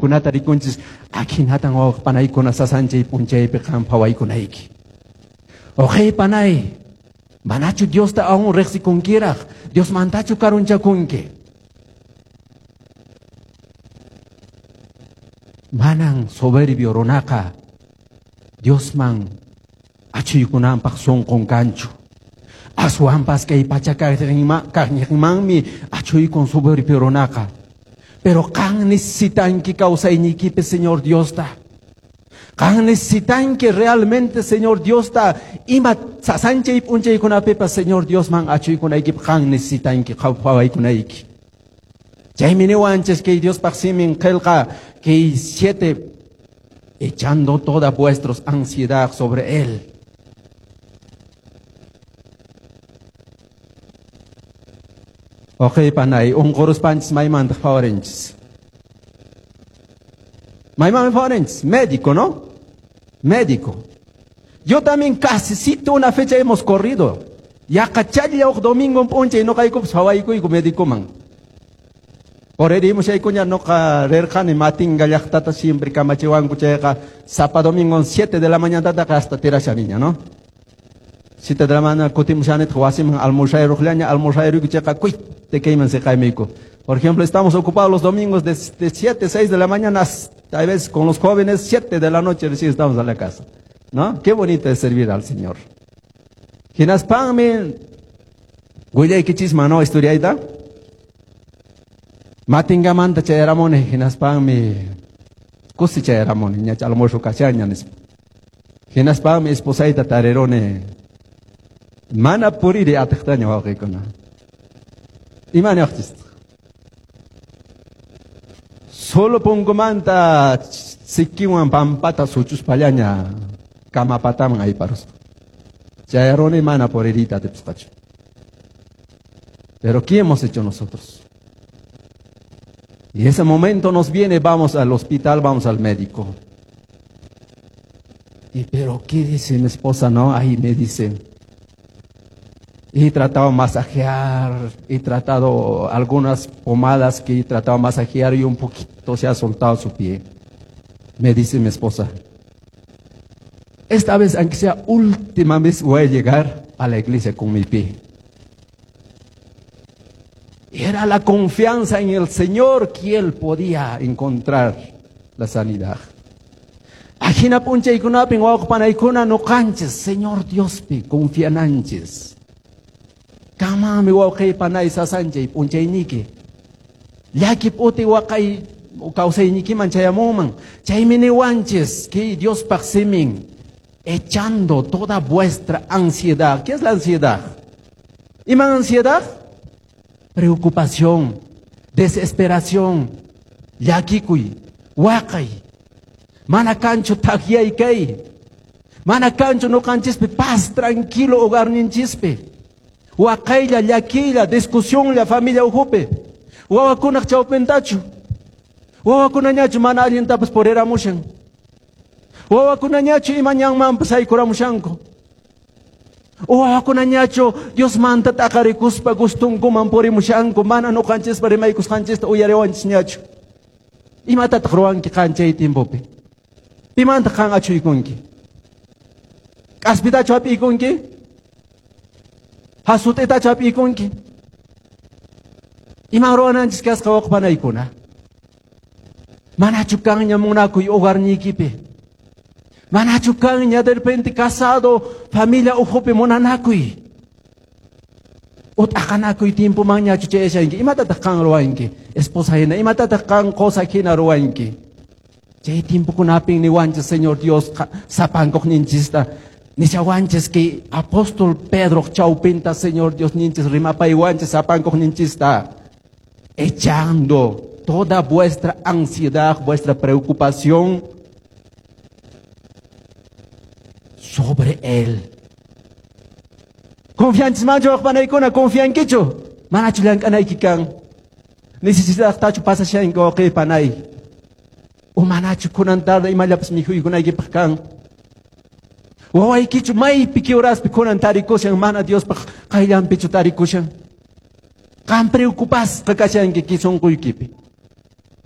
Kunata rikunchis akinatan wawqpanaykuna sasanchay p'unchaypi qan phawaykunayki. Uqay panay, manachu Diosta aún riqsikunkiraq, Diosmantachu karunchakunki? Manan soberbio runaqa Diosman achuykunanpaq sunqun kanchu. Aswanpas kay pacha kaqninmanmi achuykun soberbio runaqa. Pero qan necesitanki kawsaynikipi Señor Diosta. Qan necesitanki realmente Señor Diosta ima sasanchay p'unchaykunapipas Señor Diosman achuykunaykipaq qan necesitanki qhawaykunayki. Chaymi niwanchis kay Diospaq simin qillqa kay 7 echando toda vuestra ansiedad sobre él. Oqay panay, unquruspanchis maymantaq phawarinchis? Maymanmi phawarinchis? Médico, ¿no? Médico. Yo también casi una fecha hemos corrido. Yaqa challa uq domingo p'unchay noqaykupas phawaykuyku médicoman. Puririmushaykuña noqa rirqani Matinga llaqtata siempre kamachiwanku chayqa sapa domingo 7 de la mañana hasta tirashaniña, ¿no? 7 de la mañana kutimushanitaq wasiman almursayruqllaña, almursayruku chayqa te kayman siqaymiku. Por ejemplo, estamos ocupados los domingos de 7, 6 de la mañana hasta a veces con los jóvenes 7 de la noche recién estamos a la casa, ¿no? Qué bonito es servir al Señor. Hinaspanmi willaykichisman, ¿no? Historiayta. Matingamanta chayaramuni hinaspanmi kusi chayaramuni ñacha almuerzo kashaña nispa. Hinaspanmi esposayta tariruni mana puriri atiqtaña wawqiykuna. Ima niwaqchis? Solo punkumanta sikiwan pampata suchuspallaña kamapataman ayparuspa. Chayaruni mana puririta atipasqachu. Pero ¿qué hemos hecho nosotros? Y ese momento nos viene, vamos al hospital, vamos al médico. Y pero ¿qué dice mi esposa? No, ahí me dice. He tratado de masajear, he tratado algunas pomadas que he tratado de masajear y un poquito se ha soltado su pie. Me dice mi esposa, esta vez, aunque sea última vez, voy a llegar a la iglesia con mi pie. Era la confianza en el Señor que él podía encontrar la sanidad. Ajina p'unchaykunapin wawqpanaykuna nuqanchis Señor Diospi confiananchis. Kamami wawqaypanay sasanchay p'unchayniki. Llaki p'uti waqay kawsaynikiman chayamunman. Chaymi niwanchis kay Diospaq simin echando toda vuestra ansiedad. ¿Qué es la ansiedad? ¿Ima ansiedad? Preocupación, desesperación, llakikuy, waqay. Mana kanchu thakyay kay. Mana kanchu nuqanchispi paz tranquilo hogarninchispi. Waqaylla, llakiylla, discusionlla familia ukhupi. Wawakunaq chawpintachu. Wawakunañachu mana allintapas puriramushan. Wawakunañachu ima ñanmanpas haykuramushanku. Wawakunañachu Diosmanta t'aqarikuspa gustunkuman purimushanku mana nuqanchispa rimaykusqanchista uyariwanchisñachu. Imatataq ruwanki qan chay tiempopi? Pimantaq qan achuykunki? K'aspitachu hap'iykunki? Hasut'itachu hap'iykunki? Iman ruwananchis kasqa waqpanaykuna? Manachu kanña munakuy hogarniykipi? Manachu kanña de repente casado, familia ukhupi munanakuy? Ut'aqanakuy tiempomanñachu chayashanki? Imatataq qan ruwanki? Esposa hina, imatataq qan qosa hina ruwanki? Chay tiempokunapin niwanchis Señor Dios sapankuqninchista nishawanchis kay apóstol Pedro chawpinta Señor Dios ninchis rimapaywanchis sapankuqninchista echando toda vuestra ansiedad, vuestra preocupación sobre él. Confianchismanchu waqpanaykuna, confiankichu? Manachu llank'anayki kan? Necesitasqtachu pasashanki wawqipanay? O manachu kunan tarde imallapas mikhuykunaykipaq kan? Wawaykichu maypi kiuraspi kunan tarikushan, mana Diospaq qayllanpichu tarikushan? Qan preocupasqa kashanki sunquykipi.